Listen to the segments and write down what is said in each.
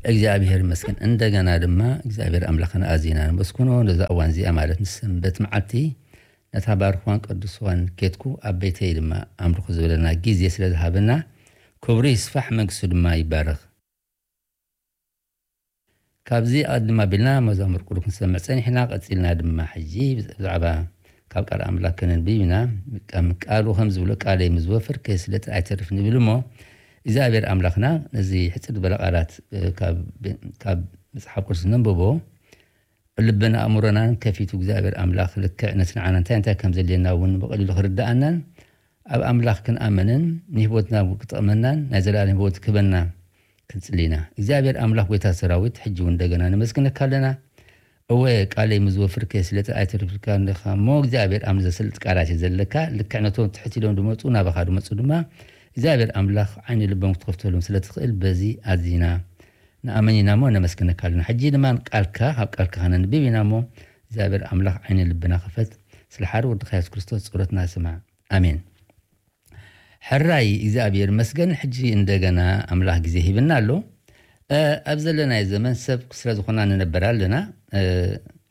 እግዚኣብሔር ይመስገን። እንደገና ድማ እግዚኣብሔር ኣምላኽና ኣዚና ነመስግኖ። ነዛ እዋን እዚኣ ማለት ንሰንበት መዓልቲ ነታ ባርኽዋን ቅዱስዋን ኬትኩ ኣብ ቤተይ ድማ ኣምልኹ ዝበለና ግዜ ስለ ዝሃበና ክብሩ ይስፋሕ፣ መንግስቱ ድማ ይባረኽ። ካብዚ ኣቐድም ኣቢልና መዛሙር ቅዱስ ክንሰምዕ ጸኒሕና፣ ቀጺልና ድማ ሕጂ ብዛዕባ ካብ ቃል ኣምላኽ ከነንብብ ኢና። ከም ቃሉ ከም ዝብሎ፣ "ቃለይ ምስ ዝወፈር ከየስለጠ ኣይተርፍ" ንብል እሞ፣ እግዚኣብሔር ኣምላኽና ነዚ ሕጽር ዝበለ ቃላት፣ እ፣ ካብ፣ ካብ መጽሓፍ ቅዱስ ነንብቦ፣ ልብን ኣእምሮናን ከፊቱ እግዚኣብሔር ኣምላኽ ልክዕ ነቲ ንዓና እንታይ እንታይ ከም ዘድልየና እውን ብቐሊሉ ክርድኣናን ኣብ ኣምላኽ ክንኣምንን ንህይወትና እውን ክጠቕመናን ናይ ዘለኣለም ህይወት ክህበና ክንጽሊ ኢና። እግዚኣብሔር ኣምላኽ ጎይታ ሰራዊት፣ ሕጂ እውን እንደገና ነመስግነካ ኣለና። እወ፣ ቃለይ ምስ ዝወፍር ከየስለጠ ኣይተርፍልካን ኢኻ እሞ፣ እግዚኣብሔር ኣም ዘስልጥ ቃላት እዩ ዘለካ። ልክዕ ነቶም ትሕት ኢሎም ዝመጹ ናባኻ ዝመጹ ድማ እግዚኣብሔር ኣምላኽ ዓይኒ ልቦም ክትኸፍተሎም ስለ ትኽእል በዚ ኣዚና ንኣምን ኢና እሞ ነመስግነካ ኣለና። ሕጂ ድማ ቃልካ፣ ካብ ቃልካ ከነንብብ ኢና እሞ እግዚኣብሔር ኣምላኽ ዓይኒ ልብና ክፈት። ስለ ሓደ ወድኻ የሱስ ክርስቶስ ጸሎትና ስማዕ። ኣሜን። ሕራይ እግዚኣብሔር መስገን፣ ሕጂ እንደገና ኣምላኽ ግዜ ሂብና ኣሎ። እ፣ ኣብ ዘለናዮ ዘመን ሰብ ስለ ዝኾና ንነበር ኣለና። እ፣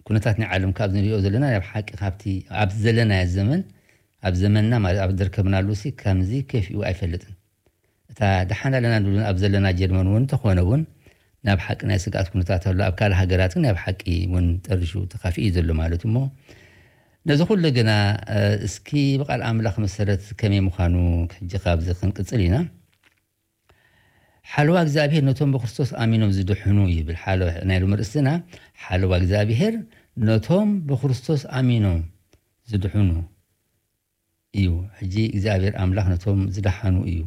ኩነታት ናይ ዓለም ካብ ንሪኦ ዘለና ናይ ብሓቂ ካብቲ ኣብ ዘለናዮ ዘመን፣ ኣብ ዘመንና ማለት ኣብ ዝርከብናሉ ሲ ከምዚ ከፊኡ ኣይፈልጥን። እታ ደሓን ኣለና ንብልን ኣብ ዘለና ጀርመን እውን እንተኾነ እውን ናይ ብሓቂ ናይ ስግኣት ኩነታት ኣሎ። ኣብ ካልእ ሃገራት ግን ናይ ብሓቂ እውን ጠሪሹ ተኻፊኡ እዩ ዘሎ ማለት እሞ፣ ነዚ ኩሉ ግና፣ እ፣ እስኪ ብቃል ኣምላኽ መሰረት ከመይ ምዃኑ ሕጂ ካብዚ ክንቅጽል ኢና። ሓለዋ እግዚኣብሔር ነቶም ብክርስቶስ ኣሚኖም ዝድሕኑ ይብል። ሓለዋ ናይ ሎሚ ርእስና፣ ሓለዋ እግዚኣብሔር ነቶም ብክርስቶስ ኣሚኖም ዝድሕኑ እዩ። ሕጂ እግዚኣብሔር ኣምላኽ ነቶም ዝደሓኑ እዩ።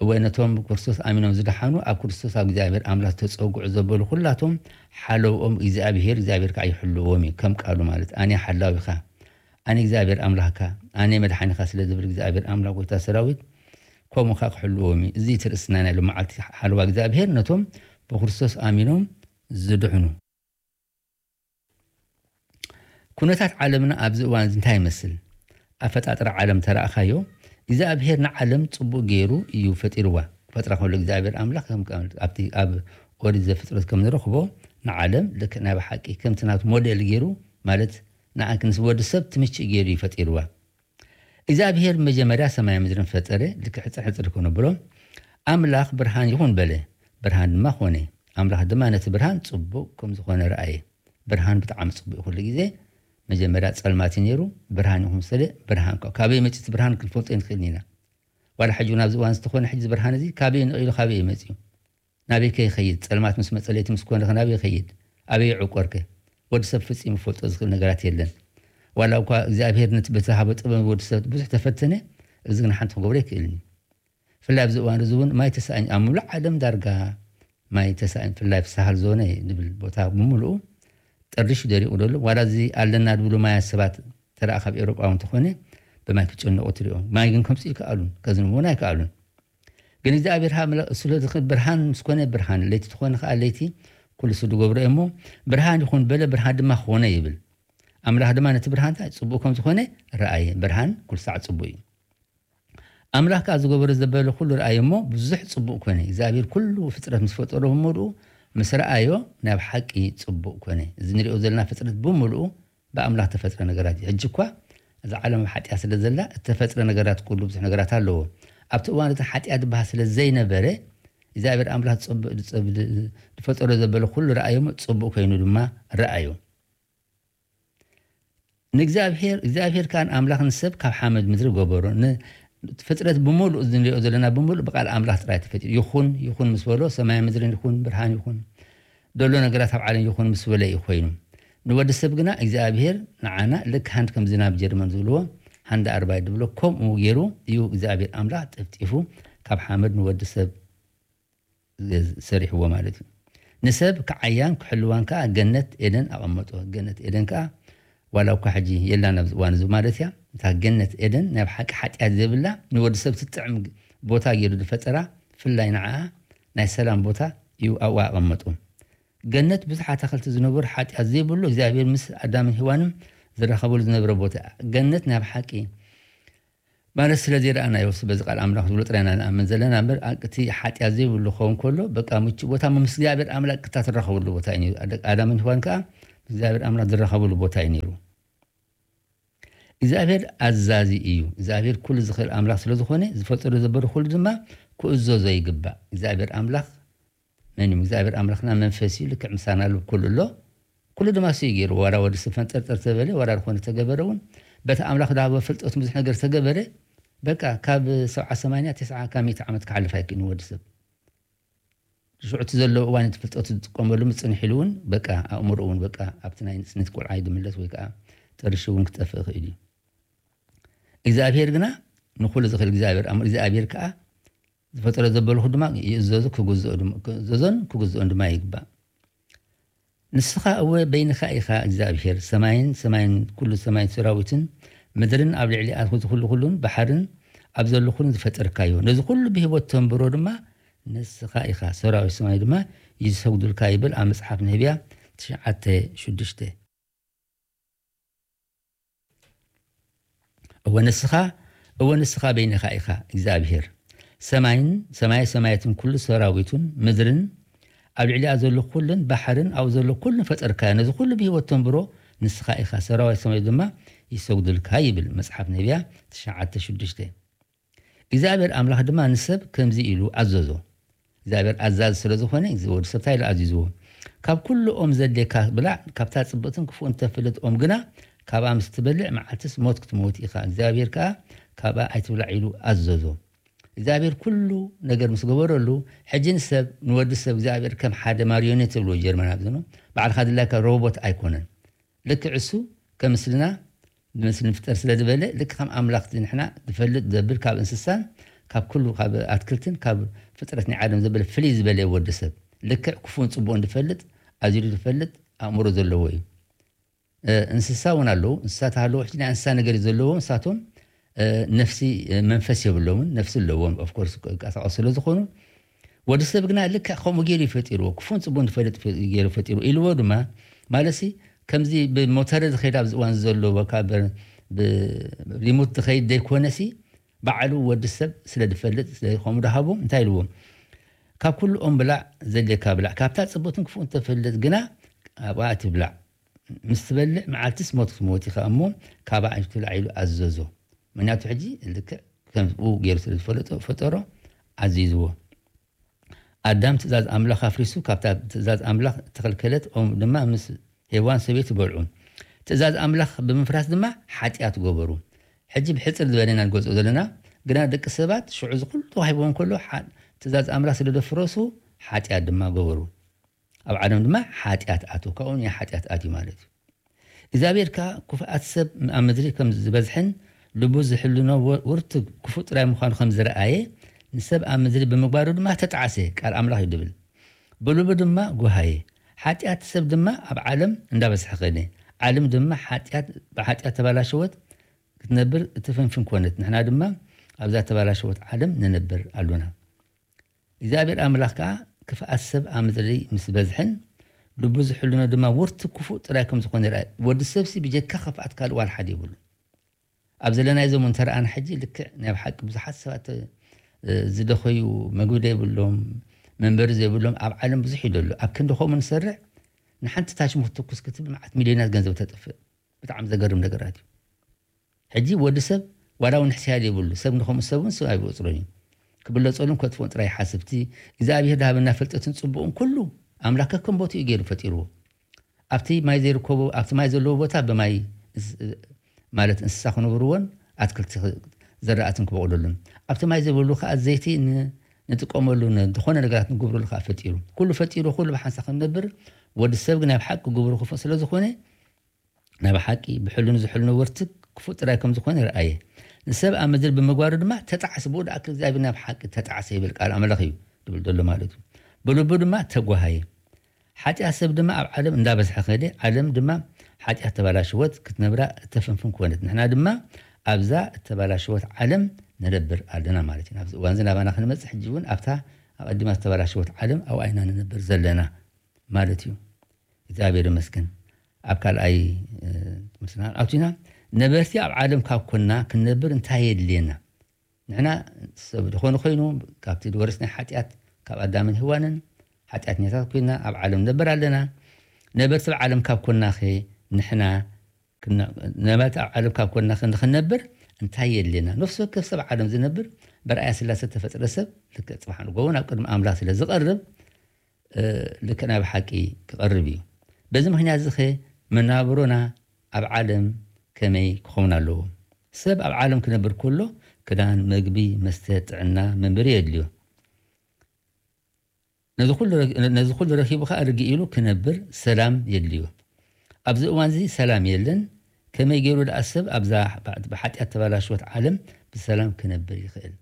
እወ፣ ነቶም ብክርስቶስ ኣሚኖም ዝደሓኑ፣ ኣብ ክርስቶስ ኣብ እግዚኣብሔር ኣምላኽ ዝተጸጉዑ ዘበሉ ኩላቶም ሓለውኦም እግዚኣብሔር፣ እግዚኣብሔር ከዓ ይሕልዎም እዩ። ከም ቃሉ ማለት፣ "ኣነ ሓላዊኻ፣ ኣነ እግዚኣብሔር ኣምላኽካ፣ ኣነ መድሓኒኻ" ስለ ዝብል እግዚኣብሔር ኣምላኽ ጎይታ ሰራዊት ከምኡ ከዓ ክሕልዎም እዩ። እዚ እቲ ርእስና ናይ ሎመዓልቲ ሓለዋ እግዚኣብሔር ነቶም ብክርስቶስ ኣሚኖም ዝድሕኑ። ኩነታት ዓለምና ኣብዚ እዋን እዚ እንታይ ይመስል? ኣፈጣጥራ ዓለም ተረኣኻዮ? እግዚኣብሔር ንዓለም ጽቡቕ ገይሩ እዩ ፈጢርዋ። ክፈጥራ ከሎ እግዚኣብሔር ኣምላኽ ከም፣ ከም ኣብቲ ኣብ ኦሪት ዘፍጥረት ከም ንረኽቦ ንዓለም ልክዕ ናይ ብሓቂ ከምቲ ናቱ ሞዴል ገይሩ፣ ማለት ንኣ-፣ ንወዲ ሰብ ትምችእ ገይሩ እዩ ፈጢርዋ። እግዚኣብሔር መጀመርያ ሰማይ ምድርን ፈጠረ፣ ልክዕ ሕጽር ሕጽር ከነብሎ፣ ኣምላኽ ብርሃን ይኹን በለ፣ ብርሃን ድማ ኾነ። ኣምላኽ ድማ ነቲ ብርሃን ጽቡቕ ከም ዝኾነ ረኣየ። ብርሃን ብጣዕሚ ጽቡቕ እዩ። ኩሉ ግዜ መጀመርያ ጸልማት እዩ ነይሩ፣ ብርሃን ይኹን ስለ ብርሃን ከ-፣ ካበይ መጺኡ እቲ ብርሃን ክንፈልጦ ኣይንኽእልን ኢና። ዋላ ሕጂ እውን ኣብዚ እዋን ዝተኾነ ሕጂ እዚ ብርሃን እዚ ካበይ ነቒሉ ካበይ እዩ መጺኡ? ናበይ ከ ይኸይድ? ጸልማት ምስ መጸ ለይቲ ምስ ኮነ ከ ናበይ ይኸይድ? ኣበይ ይዕቆር ከ? ወዲ ሰብ ፍጺሙ ክፈልጦ ዝኽእል ነገራት የለን። ዋላ እኳ እግዚኣብሔር ነቲ በተሃቦ ጥበብ ወዲ ሰብ ብዙሕ ተፈተነ፣ እዚ ግን ሓንቲ ክገብሮ ኣይክእልን እዩ። ብፍላይ ኣብዚ እዋን እዚ እውን ማይ ተሳእን ኣብ ምሉእ ዓለም ዳርጋ ማይ ተሳእን፣ ብፍላይ ኣብ ሳህል ዞነ ንብል ቦታ ብምሉኡ ጠሪሹ ደሪቑ ዘሎ። ዋላ እዚ ኣለና ዝብሉ ማያት ሰባት ተረኣ ካብ ኤውሮጳ እውን እንተኾነ ብማይ ክጨነቑ ትሪኦ። ማይ ግን ከምፅኡ ይከኣሉን ከዝንቡ እውን ኣይከኣሉን። ግን እግዚኣብሔር ሃ-፣ ስለ ዝኽእል ብርሃን ምስ ኮነ ብርሃን፣ ለይቲ ዝኾነ ከዓ ለይቲ ኩሉ ስብ ዝገብሮ እዩ እሞ፣ ብርሃን ይኹን በለ፣ ብርሃን ድማ ኾነ ይብል። ኣምላኽ ድማ ነቲ ብርሃን እንታይ ጽቡቕ ከም ዝኾነ ረኣየ። ብርሃን ኩሉ ሳዕ ጽቡቕ እዩ። ኣምላኽ ከኣ ዝገበሮ ዘበለ ኩሉ ረኣየ እሞ፣ ብዙሕ ጽቡቕ ኮነ። እግዚኣብሔር ኩሉ ፍጥረት ምስ ፈጠሮ ብምሉኡ ምስ ረኣዮ፣ ናይ ብሓቂ ጽቡቕ ኮነ። እዚ ንሪኦ ዘለና ፍጥረት ብምሉኡ ብኣምላኽ ተፈጥረ ነገራት እዩ። ሕጂ እኳ እዛ ዓለም ኣብ ሓጢኣት ስለ ዘላ፣ እተፈጥረ ነገራት ኩሉ ብዙሕ ነገራት ኣለዎ። ኣብቲ እዋን እቲ ሓጢኣት ዝበሃል ስለ ዘይነበረ፣ እግዚኣብሔር ኣምላኽ ዝጸብ-፣ ዝጸብ-፣ ዝፈጠሮ ዘበለ ኩሉ ረኣዮ እሞ፣ ጽቡቕ ኮይኑ ድማ ረኣዮ። ንእግዚኣብሔር፣ እግዚኣብሔር ከኣ ንኣምላኽ ንሰብ ካብ ሓመድ ምድሪ ገበሮ። ን-፣ ፍጥረት ብምሉእ፣ እዚ ንሪኦ ዘለና ብምሉእ ብቃል ኣምላኽ ጥራይ ተፈጢሩ። ይኹን፣ ይኹን ምስ በሎ፣ ሰማይ ምድርን ይኹን፣ ብርሃን ይኹን፣ ዘሎ ነገራት ኣብ ዓለም ይኹን ምስ በለ እዩ ኮይኑ። ንወዲ ሰብ ግና እግዚኣብሔር ንዓና ልክ ሃንድ ከም ዝናብ ጀርመን ዝብልዎ፣ ሃንድ ኣርባይ ዝብሎ፣ ከምኡ ገይሩ እዩ እግዚኣብሔር ኣምላኽ ጥፍጢፉ ካብ ሓመድ ንወዲ ሰብ ሰሪሕዎ ማለት እዩ። ንሰብ ክዓያን ክሕልዋን ከኣ ገነት ኤደን ኣቐመጦ። ገነት ኤደን ከኣ ዋላ እኳ ሕጂ የላን ኣብዚ እዋን እዚ ማለት እያ። እታ ገነት ኤደን ናይ ብሓቂ ሓጢኣት ዘይብላ ንወዲ ሰብ ትጥዕም ቦታ ገይሩ ዝፈጠራ፣ ብፍላይ ንዓኣ ናይ ሰላም ቦታ እዩ ኣብኡ ኣቐመጦ። ገነት ብዙሕ ኣታኽልቲ ዝነበሩ፣ ሓጢኣት ዘይብሉ፣ እግዚኣብሔር ምስ ኣዳምን ሄዋንን ዝራኸበሉ ዝነበረ ቦታ እያ። ገነት ናይ ብሓቂ ማለት ስለ ዘይረኣናዮ፣ በዚ ቃል ኣምላኽ ዝብሎ ጥራይ ኢና ንኣምን ዘለና እምበር፣ እቲ ሓጢኣት ዘይብሉ ክኸውን ከሎ፣ በቃ ምቹእ ቦታ ምስ እግዚኣብሔር ኣምላኽ ቅጥታ ትራኸብሉ ቦታ እዩ ነይሩ። ኣደ-፣ ኣዳምን ሔዋን ከኣ ምስ እግዚኣብሔር ኣምላኽ ዝራኸብሉ ቦታ እዩ ነይሩ። እግዚኣብሔር ኣዛዚ እዩ። እግዚኣብሔር ኩሉ ዝኽእል ኣምላኽ ስለ ዝኾነ፣ ዝፈጠሮ ዘበሎ ኩሉ ድማ ክእዘዞ ይግባእ። እግዚኣብሔር ኣምላኽ መን እዩ? እግዚኣብሔር ኣምላኽና መንፈስ እዩ፣ ልክዕ ምሳና ኣሎ፣ ኩሉ ኣሎ። ኩሉ ድማ እሱ እዩ ገይሩ። ዋላ ወዲ ሰብ ፈንጠርጠር ተበለ፣ ዋላ ዝኾነ ተገበረ እውን፣ በቲ ኣምላኽ ዝሃቦ ፍልጠት ብዙሕ ነገር ተገበረ። በቃ ካብ ሰብዓ ሰማንያ፣ ተስዓ ካብ ሚእቲ ዓመት ክሓልፍ ኣይክእልን ወዲ ሰብ። ሽዑ እቲ ዘለዎ እዋን እቲ ፍልጠቱ ዝጥቀመሉ ምጽንሕ ኢሉ እውን፣ በቃ ኣእምሮ እውን በቃ ኣብቲ ናይ ንእስነት ቆልዓ ይድምለስ ወይ ከዓ ጥርሺ እውን ክጠፍእ ይኽእል እዩ። እግዚኣብሔር ግና ንኹሉ ዝኽእል እግዚኣብሔር፣ ኣም-፣ እግዚኣብሔር ከዓ ዝፈጠሮ ዘበልኹ ድማ ይእዘዙ፣ ክግዝኦ ድማ፣ ክእዘዞን ክግዝኦን ድማ ይግባእ። ንስኻ እወ በይንኻ ኢኻ እግዚኣብሔር፣ ሰማይን ሰማይን ኩሉ ሰማይን ሰራዊትን፣ ምድርን ኣብ ልዕሊኣ ዝኹሉ ኩሉን፣ ባሕርን ኣብ ዘሎ ኩሉን ዝፈጠርካዮ። ነዚ ኩሉ ብህይወት ተንብሮ ድማ ንስኻ ኢኻ፣ ሰራዊት ሰማይ ድማ ይሰግዱልካ ይብል ኣብ መጽሓፍ ነህብያ ትሽዓተ ሽዱሽተ። እወ ንስኻ፣ እወ ንስኻ በይንኻ ኢኻ እግዚኣብሔር። ሰማይን ሰማየ ሰማያትን ኩሉ ሰራዊቱን፣ ምድርን ኣብ ልዕሊኣ ዘሎ ኩሉን፣ ባሕርን ኣብኡ ዘሎ ኩሉን ፈጠርካዮ። ነዚ ኩሉ ብህይወት ተንብሮ ንስኻ ኢኻ፣ ሰራዊት ሰማይ ድማ ይሰግዱልካ ይብል መጽሓፍ ነቢያ ትሽዓተ ሽዱሽተ። እግዚኣብሔር ኣምላኽ ድማ ንሰብ ከምዚ ኢሉ ኣዘዞ። እግዚኣብሔር ኣዛዚ ስለ ዝኾነ፣ እዚ ወዲ ሰብ እንታይ ኢሉ ኣዚዝዎ? ካብ ኩሉ ኦም ዘድልየካ ብላዕ፣ ካብታ ጽብቕትን ክፉእን እተፍልጥ ኦም ግና፣ ካብኣ ምስ ትበልዕ መዓልትስ ሞት ክትመውት ኢኻ። እግዚኣብሔር ከኣ ካብኣ ኣይትብላዕ ኢሉ ኣዘዞ። እግዚኣብሔር ኩሉ ነገር ምስ ገበረሉ፣ ሕጂ ንሰብ፣ ንወዲ ሰብ እግዚኣብሔር ከም ሓደ ማርዮኔት ዝብልዎ ጀርመን ኣብዚ ነው። ባዕልኻ ድላይካ ሮቦት ኣይኮነን። ልክዕ እሱ ከም ምስልና፣ ብምስሊ ንፍጠር ስለ ዝበለ፣ ልክዕ ከም ኣምላኽ ንሕና ዝፈልጥ ዘብል ካብ እንስሳን ካብ ኩሉ ካብ ኣትክልትን ካብ ፍጥረት ናይ ዓለም ዘበለ ፍልይ ዝበለ ወዲ ሰብ። ልክዕ ክፉን ጽቡቕን ዝፈልጥ፣ ኣዚሉ ዝፈልጥ ኣእምሮ ዘለዎ እዩ። እ፣ እንስሳ እውን ኣለዉ። እንስሳት ኣለዉ። ሕጂ ናይ እንስሳ ነገር እዩ ዘለዎም። ንሳቶም፣ እ፣ ነፍሲ፣ እ፣ መንፈስ የብሎምን። ነፍሲ ኣለዎም። ኦፍ ኮርስ፣ ይንቀሳቐሱ ስለ ዝኾኑ። ወዲ ሰብ ግና ልክዕ ከምኡ ገይሩ እዩ ፈጢርዎ። ክፉን ጽቡቕን ዝፈልጥ ፈ-፣ ገይሩ ፈጢርዎ። ኢልዎ ድማ፣ ማለትሲ፣ ከምዚ ብሞተረ ዝኸይድ ኣብዚ እዋን ዘሎ፣ በቃ ብ-፣ ብሪሞት ዝኸይድ ዘይኮነሲ፣ ባዕሉ ወዲ ሰብ ስለ ዝፈልጥ፣ ስለ ከምኡ ዝሃቦ፣ እንታይ ኢልዎ? ካብ ኩሉ ኦም ብላዕ፣ ዘድልየካ ብላዕ። ካብታ ጽቡቕን ክፉእን ተፈልጥ ግና፣ ኣብኣ ትብላዕ። ምስ ትበልዕ መዓልትስ ሞት ክትሞት ኢኻ እሞ፣ ካብኣ ኣይትብላዕ ኢሉ ኣዘዞ። ምኽንያቱ ሕጂ ልክዕ ከምኡ ገይሩ ስለ ዝፈለጦ፣ ፈጠሮ፣ ኣዚዝዎ። ኣዳም ትእዛዝ ኣምላኽ ኣፍሪሱ፣ ካብታ ትእዛዝ ኣምላኽ እተኸልከለት ኦም ድማ ምስ ሄዋን ሰበይቱ በልዑ። ትእዛዝ ኣምላኽ ብምፍራስ ድማ ሓጢኣት ገበሩ። ሕጂ ብሕጽር ዝበለ ኢና ንገልጾ ዘለና፣ ግና ደቂ ሰባት ሽዑ እዚ ኩሉ ተዋሂብዎም ከሎ፣ ሓ-፣ ትእዛዝ ኣምላኽ ስለ ዘፍረሱ፣ ሓጢኣት ድማ ገበሩ። ኣብ ዓለም ድማ ሓጢኣት ኣትዩ፣ ካብኡ ናይ ሓጢኣት ኣትዩ ማለት እዩ። እግዚኣብሔር ከኣ ክፉኣት ሰብ ኣብ ምድሪ ከም ዝበዝሕን ልቡ ዝሕልኖ ወ-፣ ውርትግ ክፉእ ጥራይ ምዃኑ ከም ዝረኣየ፣ ንሰብ ኣብ ምድሪ ብምግባሩ ድማ ተጣዕሰ፣ ቃል ኣምላኽ እዩ ድብል። ብልቡ ድማ ጓሃየ። ሓጢኣት ሰብ ድማ ኣብ ዓለም እንዳበዝሐ ኸደ። ዓለም ድማ ሓጢኣት፣ ብሓጢኣት ተባላሸወት፣ ክትነብር እትፍንፍን ኮነት። ንሕና ድማ ኣብዛ ተባላሸወት ዓለም ንነብር ኣሎና። እግዚኣብሔር ኣምላኽ ከኣ ክፍኣት ሰብ ኣብ ምድሪ ምስ በዝሕን ልቡ ዝሕልኖ ድማ ውርትግ ክፉእ ጥራይ ከም ዝኾነ ይርኣይ። ወዲ ሰብሲ ብጀካ ክፍኣት ካልእ ዋላ ሓደ የብሉን። ኣብ ዘለናዮ ዘመን እንተ ረኣና ሕጂ ልክዕ ናይ ብሓቂ ብዙሓት ሰባት፣ እ፣ ዝደኸዩ፣ መግቢ ዘይብሎም፣ መንበሪ ዘይብሎም ኣብ ዓለም ብዙሕ እዩ ዘሎ። ኣብ ክንዲ ከምኡ ንሰርዕ፣ ንሓንቲ ታሽሞ ክትትኩስ ክትብል መዓት ሚልዮናት ገንዘብ ተጥፍእ። ብጣዕሚ ዘገርም ነገራት እዩ። ሕጂ ወዲ ሰብ ዋላ እውን ሕስያ ዘይብሉ ሰብ ንኸምኡ ሰብ እውን ሰብ ኣይብቁፅሮን እዩ። ክብለፀሉን ከጥፍኦን ጥራይ ይሓስብ። እቲ እግዚኣብሔር ዝሃበና ፍልጠትን ፅቡቕን ኩሉ ኣምላኽ ከከም ቦትኡ እዩ ገይሩ ፈጢርዎ። ኣብቲ ማይ ዘይርከቦ፣ ኣብቲ ማይ ዘለዎ ቦታ ብማይ እንስ-፣ ማለት እንስሳ ክነብርዎን ኣትክልቲ ክ-፣ ዘራእትን ክበቕለሉን፣ ኣብቲ ማይ ዘይብሉ ከዓ ዘይቲ ን-፣ ንጥቀመሉ ን-፣ ዝኾነ ነገራት ንግብረሉ ከዓ ፈጢሩ። ኩሉ ፈጢሩ፣ ኩሉ ብሓንሳ ክንነብር፣ ወዲ ሰብ ግን ናይ ብሓቂ ግብሩ ክፉእ ስለ ዝኾነ፣ ናይ ብሓቂ ብሕልኑ ዝሕልኖ ወርትግ ክፉእ ጥራይ ከም ዝኾነ ይረኣየ። ንሰብ ኣብ ምድሪ ብምግባሩ ድማ ተጣዕሰ፣ ብኡ ደኣ እግዚኣብሔር ናይ ብሓቂ ተጣዕሰ ይብል ቃል ኣምላኽ እዩ ዝብል ዘሎ ማለት እዩ። ብልቡ ድማ ተጓሃየ። ሓጢኣት ሰብ ድማ ኣብ ዓለም እንዳበዝሐ ከደ፣ ዓለም ድማ ሓጢኣት ተባላሸወት፣ ክትነብራ እተፍንፍን ኮነት። ንሕና ድማ ኣብዛ እተባላሸወት ዓለም ንነብር ኣለና ማለት እዩ። ኣብዚ እዋን እዚ ናባና ክንመጽእ፣ ሕጂ እውን ኣብታ ኣቐዲማ ዝተባላሸወት ዓለም ኣብኣ ኢና ንነብር ዘለና ማለት እዩ። እግዚኣብሔር ይመስገን። ኣብ ካልኣይ፣ እ፣ ትምህርትና ኣቲና፣ ነበርቲ ኣብ ዓለም ካብ ኮንና ክንነብር እንታይ የድልየና? ንሕና ሰብ ዝኾነ ኮይኑ ካብቲ ዝወረስናይ ሓጢኣት ካብ ኣዳምን ሄዋንን ሓጢኣተኛታት ኮይና ኣብ ዓለም ንነብር ኣለና። ነበርቲ ኣብ ዓለም ካብ ኮናኸ ንሕና ክና- ነበርቲ ኣብ ዓለም ካብ ኮናኸ ንኽንነብር እንታይ የድልየና? ነፍሲ ወከፍ ሰብ ዓለም ዝነብር ብርኣያ ስላሴ ተፈጥረ ሰብ ልክዕ ጽባሕ ንጎቦ ናብ ቅድሚ ኣምላኽ ስለ ዝቐርብ ልክዕ ናይ ብሓቂ ክቐርብ እዩ። በዚ ምኽንያት እዚ ኸ መናብሮና ኣብ ዓለም ከመይ ክኸውን ኣለዎ? ሰብ ኣብ ዓለም ክነብር ከሎ ክዳን፣ መግቢ፣ መስተ፣ ጥዕና፣ መንበሪ የድልዮ። ነዚ ኩሉ ረኪቡ ከዓ ርግእ ኢሉ ክነብር ሰላም የድልዮ። ኣብዚ እዋን እዚ ሰላም የለን። ከመይ ገይሩ ደኣ ሰብ ኣብዛ ብሓጢኣት ተባላሽወት ዓለም ብሰላም ክነብር ይኽእል?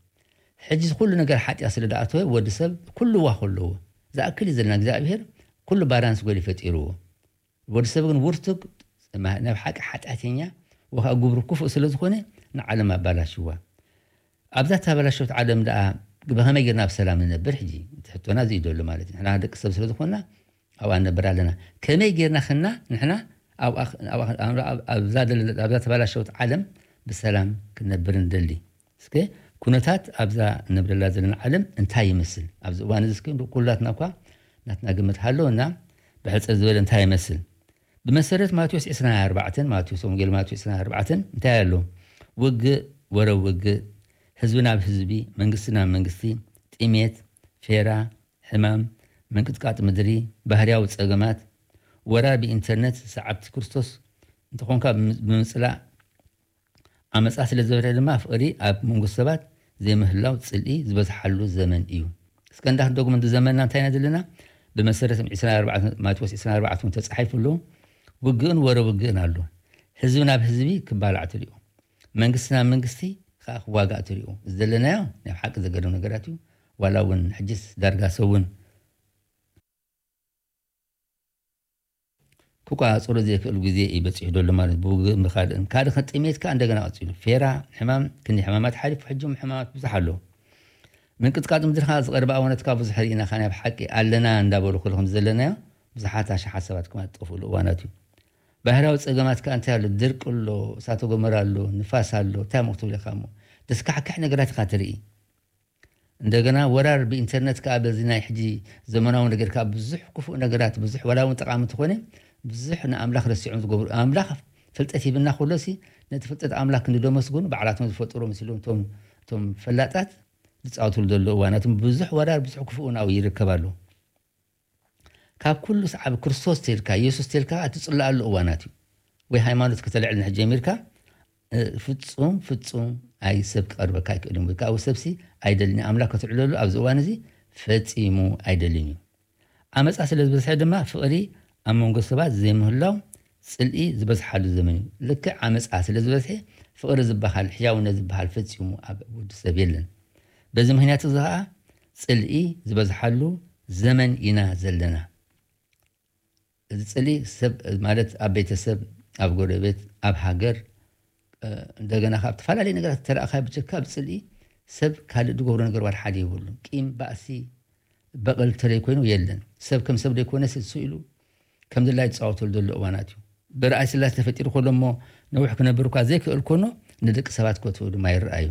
ሕጂ ኩሉ ነገር ሓጢኣት ስለ ደኣተወ ወዲ ሰብ ኩሉ ዋኾ ኣለዎ። ዝኣክል እዩ ዘለና እግዚኣብሔር ኩሉ ባላንስ ጎሊ ፈጢርዎ። ወዲ ሰብ ግን ውርቱግ ናብ ሓቂ ሓጢኣተኛ ወካ ግብሩ ክፉእ ስለ ዝኾነ ንዓለም ኣባላሽዋ። ኣብዛ ተባላሸት ዓለም ደኣ ብኸመይ ጌርና ብሰላም ንነብር? ሕጂ ትሕቶና እዚ እዩ ዘሎ ማለት እዩ። ንሕና ደቂ ሰብ ስለ ዝኾንና ኣብኣ ንነብር ኣለና። ከመይ ጌርና ኸና ንሕና ኣብዛ ተባላሸት ዓለም ብሰላም ክንነብር ንደሊ? እስከ ኩነታት ኣብዛ ንነብረላ ዘለና ዓለም እንታይ ይመስል? ኣብዚ እዋን እዚ እስከ ኩላትና እኳ ናትና ግምት ሃለወና። ብሕፅር ዝበለ እንታይ ይመስል? ብመሰረት ማቴዎስ ዕስራን ኣርባዕተን፣ ማቴዎስ፣ ወንጌል ማቴዎስ ዕስራን ኣርባዕተን እንታይ ኣሎ? ውግእ፣ ወረ ውግእ፣ ህዝቢ ናብ ህዝቢ፣ መንግስቲ ናብ መንግስቲ፣ ጥሜት፣ ፌራ፣ ሕማም፣ ምንቅጥቃጥ ምድሪ፣ ባህርያዊ ጸገማት፣ ወራር ብኢንተርነት፣ ሰዓብቲ ክርስቶስ እንተኾንካ ብምጽላእ፣ ዓመጻ ስለ ዝበዝሐ ድማ ፍቕሪ ኣብ መንጎ ሰባት ዘይምህላው ጽልኢ ዝበዝሓሉ ዘመን እዩ። እስከ እንዳ ክንደግሞ፣ እዚ ዘመንና እንታይ ኢና ዘለና? ብመሰረት ዕስራን ኣርባዕተን፣ ማቴዎስ ዕስራን ኣርባዕተን እውን ተጻሒፉ ኣሎ። ውግእን ወረ ውግእን ኣሎ። ህዝቢ ናብ ህዝቢ ክባላዕ ትሪኡ። መንግስቲ ናብ መንግስቲ ከዓ ክዋጋእ ትሪኡ። እዚ ዘለናዮ ናይ ሓቂ ዘገርም ነገራት እዩ። ዋላ እውን ሕጅስ ዳርጋ ሰብ እውን ክቋጸሮ ዘይክእል ግዜ እዩ በጺሑ ዘሎ ማለት ብውግእ ብካልእን። ካልእ ከ ጥሜት ከኣ እንደገና ቀጺሉ። ፌራ፣ ሕማም፣ ክንዲ ሕማማት ሓሊፉ ሕጂ እውን ሕማማት ብዙሕ ኣሎ። ምንቅጥቃጥ ምድሪ ከኣ ዝቐርበ ኣዋናት ከኣ ብዙሕ ርኢና ከኣ ናይ ብሓቂ ኣለና እንዳበሉ ኩሉ ከም ዘለናዮ ብዙሓት ኣሽሓት ሰባት ከኣ ዝጠፍኡሉ እዋናት እዩ። ባህርያዊ ጸገማት ከኣ እንታይ ኣሎ? ድርቂ ኣሎ፣ እሳተ ጎመራ ኣሎ፣ ንፋስ ኣሎ፣ እንታይ እሞ ክትብል ኢኻ እሞ? ዘስካሕክሕ ነገራት ኢኻ ትርኢ። እንደገና ወራር ብኢንተርነት ከኣ በዚ ናይ ሕጂ ዘመናዊ ነገር ከኣ ብዙሕ ክፉእ ነገራት፣ ብዙሕ ዋላ እውን ጠቓሚ እንተኾነ ብዙሕ ንኣምላኽ ረሲዖም ዝገብሩ፣ ኣምላኽ ፍልጠት ሂብና ከሎሲ ነቲ ፍልጠት ኣምላኽ ክንዲ ደመስግኑ ባዕላቶም ዝፈጠሩ መሲሎም እቶም እቶም ፈላጣት ዝጻወትሉ ዘሎ እዋናት ብዙሕ ወራር ብዙሕ ክፉእ እውን ኣብኡ ይርከብ ኣሎ። ካብ ኩሉ ሰዓብ ክርስቶስ ተልካ፣ የሱስ ተልካ እትጽለኣሉ እዋናት እዩ። ወይ ሃይማኖት ከተልዕል ንሕ ጀሚርካ፣ እ፣ ፍጹም፣ ፍጹም ኣይ ሰብ ክቐርበካ ኣይክእልን። ወይ ከዓ ሰብሲ ኣይደልን። ኣምላኽ ክትዕለሉ ኣብዚ እዋን እዚ ፈጺሙ ኣይደልን እዩ። ዓመጻ ስለ ዝበዝሐ ድማ ፍቕሪ ኣብ መንጎ ሰባት ዘይምህላው ጽልኢ ዝበዝሓሉ ዘመን እዩ። ልክዕ ዓመጻ ስለ ዝበዝሐ ፍቕሪ ዝበሃል፣ ሕያውነት ዝበሃል ፈጺሙ ኣብ ወዲ ሰብ የለን። በዚ ምኽንያት እዚ ኸኣ ጽልኢ ዝበዝሓሉ ዘመን ኢና ዘለና። እዚ ጽልኢ ሰብ ማለት ኣብ ቤተሰብ፣ ኣብ ጎረቤት፣ ኣብ ሃገር፣ እ፣ እንደገና ካብ ዝተፈላለዩ ነገራት ተረኣኻ ብጀካ ኣብ ጽልኢ ሰብ ካልእ ዝገብሮ ነገር ዋላ ሓደ የብሉን። ቂም፣ ባእሲ፣ በቐል ተለይ ኮይኑ የለን። ሰብ ከም ሰብ ዘይኮነ ስሱ ኢሉ ከም ድላይ ዝጻወተሉ ዘሎ እዋናት እዩ። ብርኣይ ስላሴ ተፈጢሩ ከሎ እሞ ነዊሕ ክነብር እኳ ዘይክእል ኮኖ ንደቂ ሰባት ከትኡ ድማ ይረኣዩ።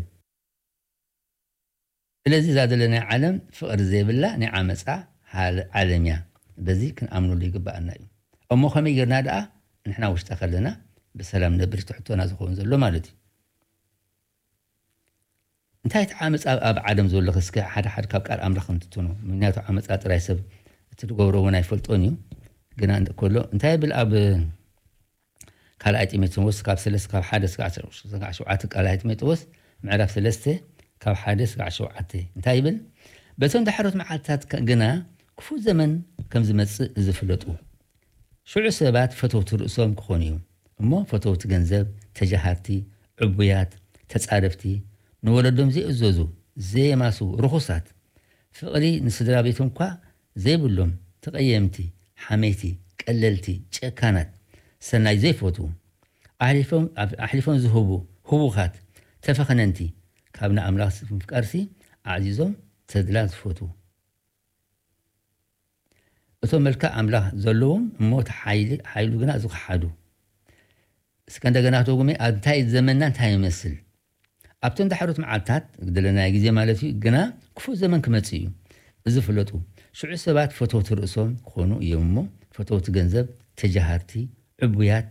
ስለዚ እዛ ዘለናያ ዓለም ፍቕሪ ዘይብላ ናይ ዓመጻ ሃለ-፣ ዓለም እያ። በዚ ክንኣምነሉ ይግባኣና እዩ። እሞ ከመይ ጌርና ደኣ ንሕና ውሽጣ ከለና ብሰላም ነብር ትሕቶና ዝኸውን ዘሎ ማለት እዩ። እንታይ እቲ ዓመጻ ኣብ ዓለም ዘሎ እስከ ሓደ ሓደ ካብ ቃል ኣምላኽ እንትትኖ። ምክንያቱ ዓመጻ ጥራይ ሰብ እቲ ዝገብሮ እውን ኣይፈልጦን እዩ። ግና እንተ-፣ ከሎ እንታይ ይብል ኣብ ካልኣይ ጢሞቴዎስ ካብ ሰለስተ ካብ ሓደ እስካዕ ሸውዓተ፣ ካልኣይ ጢሞቴዎስ ምዕራፍ ሰለስተ ካብ ሓደ እስካዕ ሸውዓተ እንታይ ይብል? በቶም ዳሕሮት መዓልትታት ከ-፣ ግና ክፉእ ዘመን ከም ዝመጽእ እዚ ፍለጡ። ሽዑ ሰባት ፈተውቲ ርእሶም ክኾኑ እዮም። እሞ ፈተውቲ ገንዘብ፣ ተጃሃርቲ፣ ዕቡያት፣ ተጻረፍቲ፣ ንወለዶም ዘይእዘዙ፣ ዘየማስዉ፣ ርኹሳት፣ ፍቕሪ ንስድራ ቤቶም እኳ ዘይብሎም፣ ተቐየምቲ፣ ሓመይቲ፣ ቀለልቲ፣ ጨካናት፣ ሰናይ ዘይፈትዉ፣ ኣሕሊፎም፣ ኣፍ-፣ ኣሕሊፎም ዝህቡ፣ ህዉኻት፣ ተፈኸነንቲ፣ ካብ ንኣምላኽ ምፍቃርሲ ኣዕዚዞም ተድላ ዝፈትዉ። እቶም መልክዕ ኣምላኽ ዘለዎም እሞ እቲ ሓይሊ፣ ሓይሉ ግና ዝኸሓዱ። እስከ እንደገና ክትደግሞ፣ ኣብ እንታይ ዘመንና እንታይ ይመስል? ኣብቶም ዳሕሮት መዓልታት፣ ዝደለናዮ ግዜ ማለት እዩ፣ ግና ክፉእ ዘመን ክመጽእ እዩ። እዚ ፍለጡ። ሽዑ ሰባት ፈተውቲ ርእሶም ክኾኑ እዮም እሞ፣ ፈተውቲ ገንዘብ፣ ተጃሃርቲ፣ ዕቡያት፣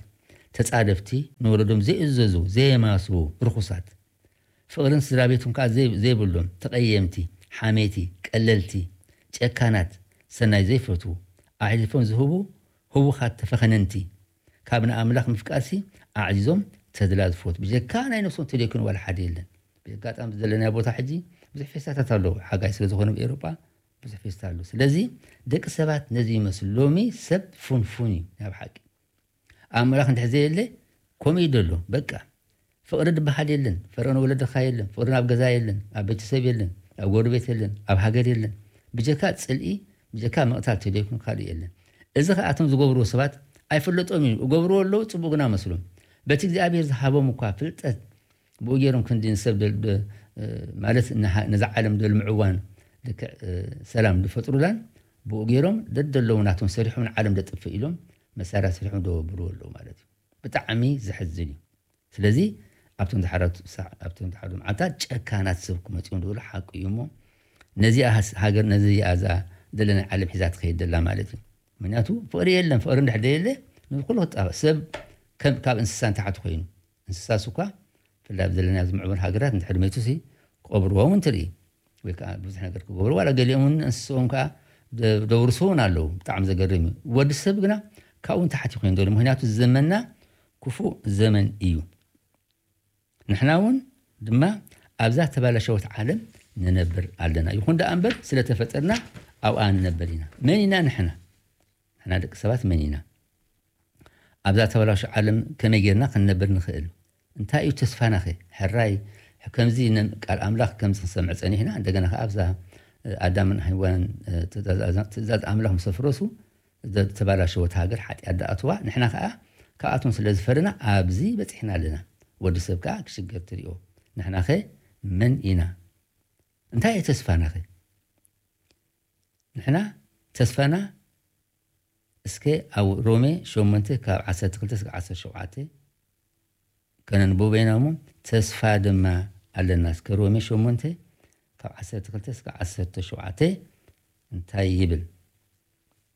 ተጻደፍቲ፣ ንወለዶም ዘይእዘዙ፣ ዘየማስዉ፣ ርኹሳት፣ ፍቕርን ስድራ ቤቶም ከኣ ዘይ-፣ ዘይብሎም፣ ተቐየምቲ፣ ሓሜቲ፣ ቀለልቲ፣ ጨካናት፣ ሰናይ ዘይፈትዉ፣ ኣሕሊፎም ዝህቡ ህዉኻት ተፈኸነንቲ፣ ካብ ንኣምላኽ ምፍቃርሲ ኣዕዚዞም ተድላ ዝፈቱ፣ ብጀካ ናይ ነፍሶም ተደይኩን ዋላ ሓደ የለን። ብኣጋጣሚ ዘለናዮ ቦታ ሕጂ ብዙሕ ፌስታታት ኣለዉ። ሓጋይ ስለ ዝኾነ ኣብ ኤውሮጳ ብዙሕ ፌስታ ኣሎ። ስለዚ ደቂ ሰባት ነዚ ይመስሉ። ሎሚ ሰብ ፉንፉን እዩ ናይ ብሓቂ። ኣምላኽ እንድሕር ዘየለ ከምኡ እዩ ዘሎ። በቃ ፍቕሪ ዝበሃል የለን። ፍቕሪ ንወለድኻ የለን። ፍቕሪ ኣብ ገዛ የለን። ኣብ ቤተሰብ የለን። ኣብ ጎረቤት የለን። ኣብ ሃገር የለን። ብጀካ ጽልኢ፣ ብጀካ ምቕታል ተደይኩን ካልእ የለን። እዚ ኸኣ እቶም ዝገብርዎ ሰባት ኣይፍለጦም እዩ። ይገብርዎ ኣለዉ፣ ጽቡቕ ግና መስሎም። በቲ እግዚኣብሔር ዝሃቦም እኳ ፍልጠት ብኡ ገይሮም ክንዲ ንሰብ ደል-፣ ደ-፣ ማለት ንሃ-፣ ነዛ ዓለም ደልምዕዋን ልክዕ፣ እ፣ ሰላም ዝፈጥሩላን ብኡ ገይሮም ደደለዉ ናቶም ሰሪሖም ንዓለም ደጥፍእ ኢሎም መሳርያ ሰሪሖም ደወብርዎ ኣለዉ ማለት እዩ። ብጣዕሚ ዘሕዝን እዩ። ስለዚ ኣብቶም ዝሓረቱ ሳዕ-፣ ኣብቶም ዝሓረቱ መዓልታት ጨካናት ሰብ ክመጽኡ እንደበሉ ሓቂ እዩ እሞ፣ ነዚኣ ሃስ-፣ ሃገር፣ ነዚኣ እዛ ዘለና ዓለም ሒዛ ትኸይድ ዘላ ማለት እዩ። ምክንያቱ ፍቕሪ የለን። ፍቕሪ እንድሕር ደየለ ንኩሉ ክጣበ-፣ ሰብ ከም፣ ካብ እንስሳ ንታሕቲ ኮይኑ፣ እንስሳስ እኳ ብፍላይ ኣብ ዘለናዮ ዝምዕበሉ ሃገራት እንድሕር መይቱሲ ክቐብርዎ እውን ትርኢ፣ ወይ ከዓ ብዙሕ ነገር ክገብሩ፣ ዋላ ገሊኦም እውን እንስስኦም ከዓ ደ-፣ ደውርሱ እውን ኣለዉ። ብጣዕሚ ዘገርም እዩ። ወዲ ሰብ ግና ካብኡ ንታሕቲ ኮይኑ ዘሎ፣ ምክንያቱ ዘመንና ክፉእ ዘመን እዩ። ንሕና እውን ድማ ኣብዛ ተባላሸወት ዓለም ንነብር ኣለና። ይኹን ደኣ እምበር ስለተፈጠርና ኣብኣ ንነብር ኢና። መን ኢና ንሕና? ንሕና ደቂ ሰባት መን ኢና? ኣብዛ ተባላሸወት ዓለም ከመይ ጌርና ክንነብር ንኽእል? እንታይ እዩ ተስፋናኸ? ሕራይ ከምዚ ነ-፣ ቃል ኣምላኽ ከምዚ ክንሰምዕ ጸኒሕና፣ እንደገና ከኣ ኣብዛ፣ እ፣ ኣዳምን ሄዋንን፣ እ፣ ትእዛዝ፣ ትእዛዝ ኣምላኽ ምስ ኣፍረሱ፣ ዘተባላሸወት ሃገር ሓጢኣት ደኣትዋ፣ ንሕና ከኣ ካብኣቶም ስለ ዝፈረና ኣብዚ በጺሕና ኣለና። ወዲ ሰብ ከኣ ክሽገር ትሪኦ። ንሕናኸ መን ኢና? እንታይ እዩ ተስፋናኸ? ንሕና ተስፋና እስከ ኣብ ሮሜ ሸሞንተ ካብ ዓሰርተ ክልተ እስከ ዓሰርተ ሸውዓተ ከነንብቦ ኢና እሞ፣ ተስፋ ድማ ኣለና። እስከ ሮሜ ሸሞንተ ካብ ዓሰርተ ክልተ እስከ ዓሰርተ ሸውዓተ እንታይ ይብል?